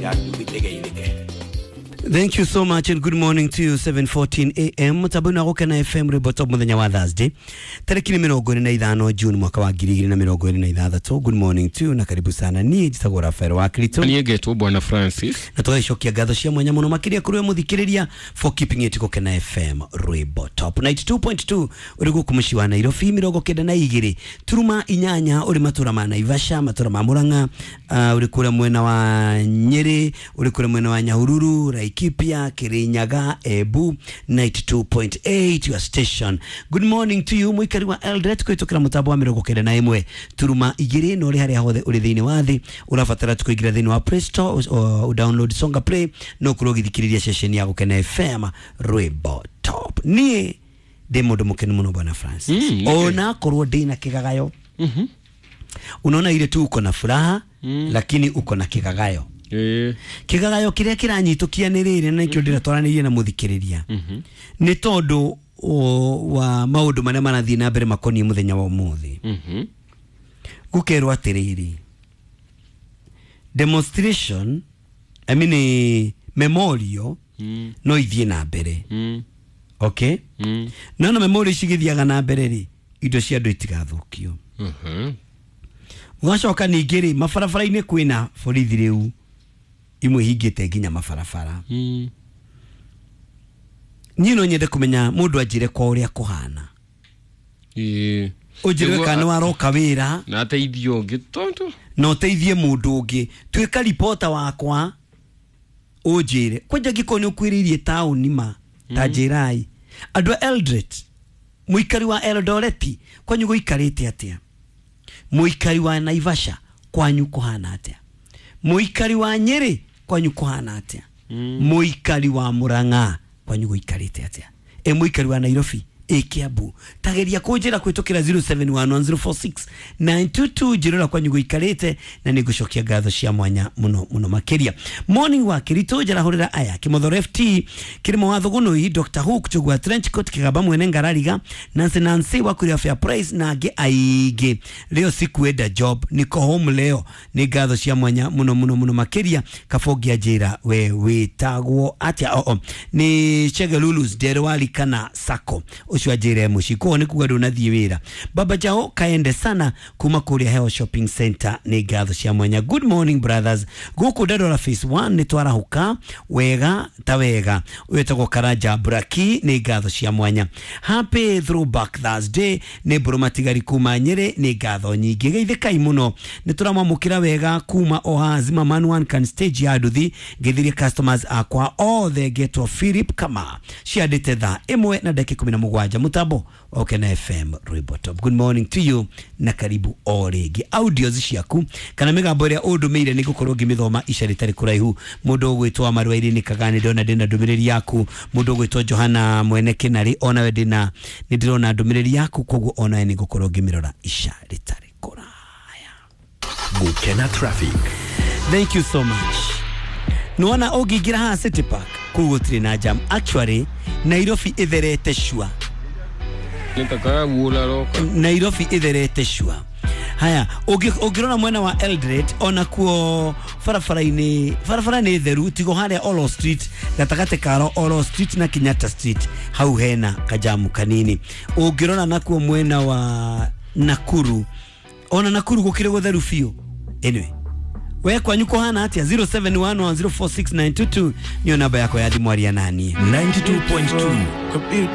Ya nduthi ĩgeithĩke. Thank you so much and good morning to you. 7:14 a.m. Mutambo-inĩ wa Gũkena FM, rwĩmbo top, mũthenya wa Thursday tarĩki nĩ 25 June mwaka wa 2026. Good morning to you na karibu sana. Niĩ njĩtagwo Rafael wa Krito. Niĩ ngetwo Bwana Francis. Na tũgagĩcokia ngatho cia mwanya mũno makĩria kũrĩ we mũthikĩrĩria for keeping it Gũkena FM, rwĩmbo top. 92.2 ũrĩ gũkũ mũciĩ wa Nairobi, 92.8 ũrĩ matũra ma Naivasha, matũra ma Murang'a, ũrĩ kũrĩa mwena wa Nyĩrĩ, ũrĩ kũrĩa mwena wa Nyahururu, Laikipia, Kirinyaga, Embu, 92.8 your station. Good morning to you mũikari wa Eldoret kũhĩtũkĩra mũtambo wa 91.2, na ũrĩ harĩa hothe ũrĩ thĩinĩ wa thĩ, ũrabatara tu kũingĩra thĩinĩ wa Play Store, download Songa Play no ũkorwo ũgĩthikĩrĩria ceceni ya Gũkena FM, rwĩmbo top. Niĩ ndĩ mũndũ mũkenu mũno, Bwana Francis, ona korwo ndĩ na kĩgagayo. Unaona ile tu uko na furaha, lakini uko na kĩgagayo. Kĩgagayo kĩrĩa kĩranyitũkia nĩ rĩrĩ, na nĩkĩo ndĩratwaranĩrie na mũthikĩrĩria, nĩ tondũ wa maũndũ marĩa marathiĩ na mbere makoniĩ mũthenya wa ũmũthĩ. Gũkerwo atĩrĩrĩ, demonstration, I mean, memorial no ithiĩ na mbere. Okay, no na memorial ici igĩthiaga na mbere rĩ, indo cia andũ itigathũkio. Gũgacoka ningĩ rĩ, mabarabara-inĩ kwĩna borithi rĩu imwe hingĩte nginya mabarabara. Niĩ no nyende kũmenya mũndũ anjĩre kwa ũrĩa kũhana. Ũnjĩre kana nĩ waroka wĩra. Na ateithio ũngĩ tondũ na ũteithie mũndũ ũngĩ. Tuĩka ripota wakwa, ũnjĩre kwanja ngĩkorwo nĩ ũkwĩrĩirie taũni ma ta njĩrai andũ a Eldoret, mũikari wa Eldoret kwanyu gũikarĩte atĩa? Mũikari wa Naivasha kwanyu kũhana atĩa? Mũikari wa Nyĩrĩ kwanyu kũhana atĩa? Mũikari wa Murang'a kwanyu gũikarĩte atĩa? Mũikari wa Nairobi, Kiambu, tageria kũnjĩra kũhĩtũkĩra 0711046922, njĩrora kwanyu gũikarĩte, na nĩ ngũcokia ngatho cia mwanya mũno mũno makĩria. Morning wa Kĩritũ, njarahũrĩra aya: Kĩmothoro FT, Kĩrĩmo wa Thũgũnũi, Dr Hook Chugwa, Trenchcoat Kĩgamba, mwene Ngarariga, Nancy, Nancy wa Kuria Fair Price na angĩ aingĩ. Leo sikuenda job, niko home leo. Nĩ ngatho cia mwanya mũno mũno mũno makĩria. Kabongia njĩra we wĩtagwo atĩa? Oo nĩ Chege Lulus Nderwali kana Sako ũcio anjĩre mũciĩ koguo nĩ kuga ndũnathiĩ wĩra. Baba Jao kaende sana kuma kũrĩa Heo Shopping Center, nĩ ngatho cia mwanya. Good morning brothers, gũkũ Dandora Phase 1 nĩ twarahũka wega ta wega. Wĩtagwo Karanja Braki, nĩ ngatho cia mwanya. Happy Throwback Thursday, nĩ mbũrũ matigari kuma Nyĩrĩ, nĩ ngatho nyingĩ. Geithĩkai mũno, nĩ tũramwamũkĩra wega kuma oha Zimmerman One Can stage ya nduthi. Ngĩthirie customers akwa othe, ngetwo Philip Kama. Ciandĩte thaa 1:17, mũtambo wa Ũkena FM, rwĩmbo top. Good morning to you na karibu o rĩngĩ. Audios ciaku kana mĩgambo ĩrĩa ũndũmĩire nĩ ngũkorwo ngĩmĩthoma ica rĩtarĩ kũraihu. Mũndũ ũgwĩtwo Marwairi nĩ Kagani, ndona ndĩna ndũmĩrĩri yaku. Mũndũ ũgwĩtwo Johana mwene Kĩnarĩ, onawe ndĩna nĩ ndĩrona ndũmĩrĩri yaku, koguo onawe nĩ ngũkorwo ngĩmĩrora ica rĩtarĩ kũraya. Gukena Traffic. Thank you so much. Nĩwona ũngĩingĩra haha City Park, kũu gũtirĩ na jam. Actually Nairobi ĩtherete shua. Nĩtakaguũra roka. Nairobi ĩtherete shua. Haya, ũngĩrora mwena wa Eldoret, onakuo barabara-inĩ, barabara nĩ theru, tigo harĩa Olo Street, gatagatĩ ka Olo Street na Kenyatta Street, hau hena kajamu kanini. Ũngĩrora nakuo mwena wa Nakuru, ona Nakuru gũkĩrĩ gũtheru biũ. Anyway, we kwanyu kũhana atĩa? 0711046922 niyo namba yakwa ya thimũ, aria naniĩ. 92.2.